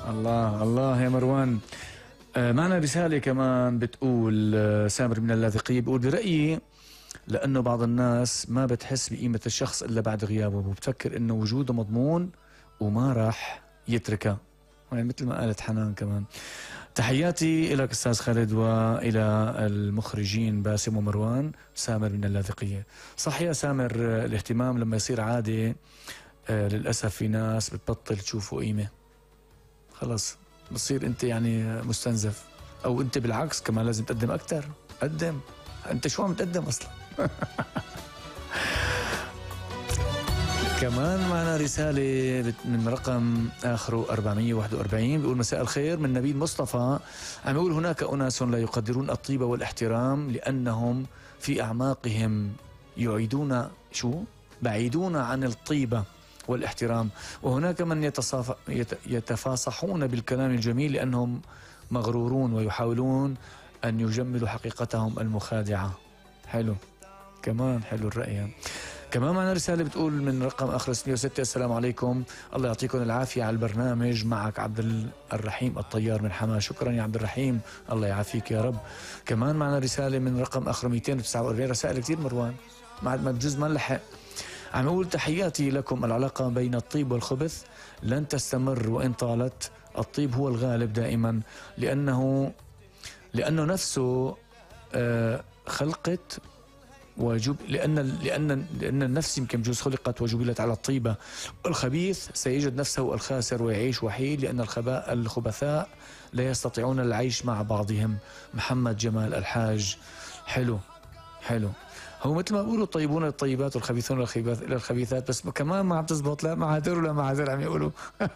الله الله يا مروان. معنا رسالة كمان بتقول سامر من اللاذقية بيقول برأيي لأنه بعض الناس ما بتحس بقيمة الشخص إلا بعد غيابه وبتفكر إنه وجوده مضمون وما راح يتركه، يعني مثل ما قالت حنان كمان. تحياتي لك أستاذ خالد وإلى المخرجين باسم ومروان. سامر من اللاذقية. صح يا سامر، الاهتمام لما يصير عادي للأسف في ناس بتبطل تشوفه قيمة، خلص بتصير انت يعني مستنزف، او انت بالعكس كمان لازم تقدم اكثر. قدم، انت شو عم تقدم اصلا؟ كمان معنا رسالة من رقم آخره 441 بيقول مساء الخير، من نبيل مصطفى. عم يقول هناك أناس لا يقدرون الطيبة والاحترام لأنهم في أعماقهم يعيدون بعيدون عن الطيبة والاحترام، وهناك من يتفاصحون بالكلام الجميل لأنهم مغرورون ويحاولون أن يجملوا حقيقتهم المخادعة. حلو، كمان حلو الرأي. كمان معنا رسالة بتقول من رقم آخر 606 السلام عليكم، الله يعطيكم العافية على البرنامج، معك عبد الرحيم الطيار من حما. شكرا يا عبد الرحيم، الله يعافيك يا رب. كمان معنا رسالة من رقم آخر 249، رسائل كتير مروان ما بجوز ما نلحق. عم يقول تحياتي لكم، العلاقة بين الطيب والخبث لن تستمر وإن طالت، الطيب هو الغالب دائما لأنه نفسه خلقت لأن النفس يمكن بجوز خلقت وجبلت على الطيبة، والخبيث سيجد نفسه الخاسر ويعيش وحيد لأن الخبثاء لا يستطيعون العيش مع بعضهم. محمد جمال الحاج. حلو حلو، هو مثل ما بيقولوا الطيبون للطيبات والخبيثون للخبيثات، بس كمان ما عم تزبط لا مع هدول ولا مع هدول عم يقولوا.